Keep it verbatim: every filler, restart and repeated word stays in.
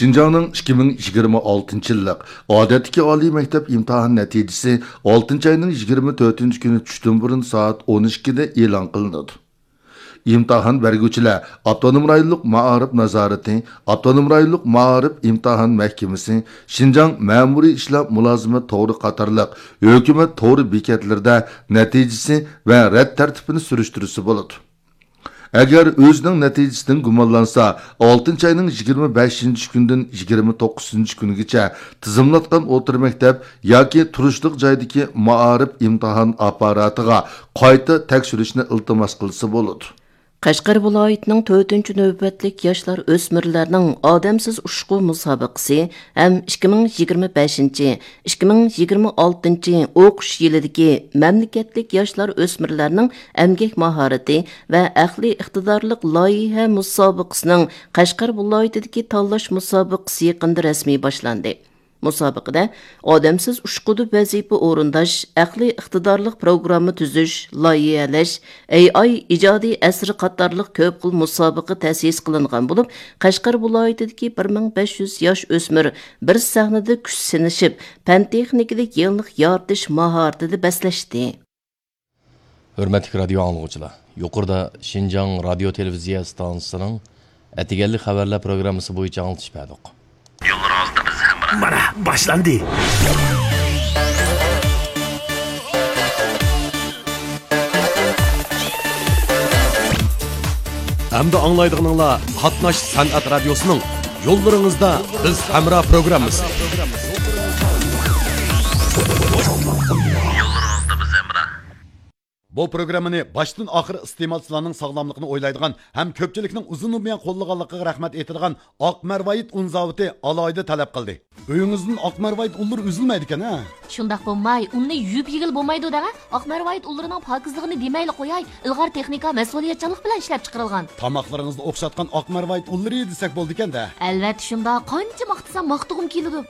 شىنجاڭنىڭ ئىككى مىڭ يىگىرمە ئالتىنچى يىللىق ئادەتتىكى ئالىي مەكتەپ ئىمتىھان نەتىجىسى ئالتىنچى ئاينىڭ يىگىرمە تۆتىنچى كۈنى چۈشتىن بۇرۇن سائەت ئون ئىككىدە ئېلان قىلىنىدۇ. ئىمتىھان بەرگۈچىلەر ئاپتونوم رايونلۇق مائارىپ نازارىتى، ئاپتونوم رايونلۇق مائارىپ ئىمتىھان مەھكىمىسى، شىنجاڭ مەمۇرىي ئىشلار مۇلازىمەت تورى قاتارلىق ھۆكۈمەت تورى بېكەتلىرىدە نەتىجىسى ۋە رەت تەرتىپىنى سۈرۈشتۈرسە بولىدۇ. ئەگەر ئۆزىنىڭ نەتىجىسىدىن گۇمانلانسا، ئالتىنچى ئاينىڭ يىگىرمە بەشىنچى كۈندىن يىگىرمە توققۇزىنچى كۈنگىچە تىزىملاتقان ئوتتۇرا مەكتەپ ياكى تۇرۇشلۇق جايدىكى مائارىپ ئىمتىھان ئاپپاراتىغا قايتا تەكشۈرۈشنى ئىلتىماس قىلسا بولىدۇ. قەشقەر ۋىلايىتىنىڭ تۆتىنچى نۆۋەتلىك ياشلار ئۆسمۈرلەرنىڭ ئادەمسىز ئۇچقۇ مۇسابىقىسى ھەم ئىككى مىڭ يىگىرمە بەشىنچى، ئىككى مىڭ يىگىرمە ئالتىنچى ئوقۇش يىلىدىكى مەملىكەتلىك ياشلار ئۆسمۈرلەرنىڭ ئەمگەك ماھارىتى ۋە ئەقلىي ئىقتىدارلىق لايىھە مۇسابىقىسىنىڭ قەشقەر ۋىلايىتىدىكى تاللاش مۇسابىقىسى يېقىندا رەسمىي باشلاندى. مۇسابىقىدە ئادەمسىز ئۇچقۇدا ۋەزىپە ئورۇنداش، ئەقلىي ئىقتىدارلىق پروگرامما تۈزۈش، لايىھەلەش، ئەي ئاي ئىجادىي ئەسىرى قاتارلىق كۆپ خىل مۇسابىقە تەسىس قىلىنغان بولۇپ، قەشقەر ۋىلايىتىدىكى بىر مىڭ بەش يۈز ياش ئۆسمۈر بىر سەھنىدە كۈچ سىنىشىپ، پەن تېخنىكىلىق يېڭىلىق يارىتىش ماھارىتىدە بەسلەشتى. ھۆرمەتلىك رادىيو ئاڭلىغۇچىلار، يۇقىرىدا شىنجاڭ رادىيو تېلېۋىزىيە ئىستانسىسىنىڭ ئەتىگەنلىك خەۋەرلەر پروگراممىسى بويىچە ئاڭلىتىش بەردۇق. يوللىرىڭىزدا بىز ھەمراھ. مانا، باشلاندى. ئەمدى ئاڭلايدىغىنىڭلار قاتناش سەنئەت رادىيوسىنىڭ يوللىرىڭىزدا بىز ھەمراھ پروگراممىسى. يوللىرىڭىزدا بىز ھەمراھ. بۇ پروگراممىنى باشتىن ئاخىر ئىستېمالچىلارنىڭ ساغلاملىقىنى ئويلايدىغان ھەم كۆپچىلىكنىڭ ئۇزۇن بۇيان قوللىغانلىقىغا رەھمەت ئېيتىدىغان ئاق مەرۋايىت ئۇن زاۋۇتى ئالاھىدە تەلەپ قىلدى. ئۆيىڭىزدىن ئاق مەرۋايىت ئۇنلىرى ئۈزۈلمەيدىكەن ھە؟ شۇنداق بولماي، ئۇننى يۇيۇپ يېگىلى بولمايدۇ دەڭە. ئاق مەرۋايىت ئۇنلىرىنىڭ پاكىزلىقىنى دېمەيلى قوياي، ئىلغار تېخنىكا، مەسئۇلىيەتچانلىق بىلەن ئىشلەپ چىقىرىلغان. تاماقلىرىڭىزنى ئوخشاتقان ئاق مەرۋايىت ئۇنلىرى دېسەك بولىدىكەن-دە. ئەلۋەتتە شۇنداق، قانچە ماختىسام ماختىغۇم كېلىدۇ.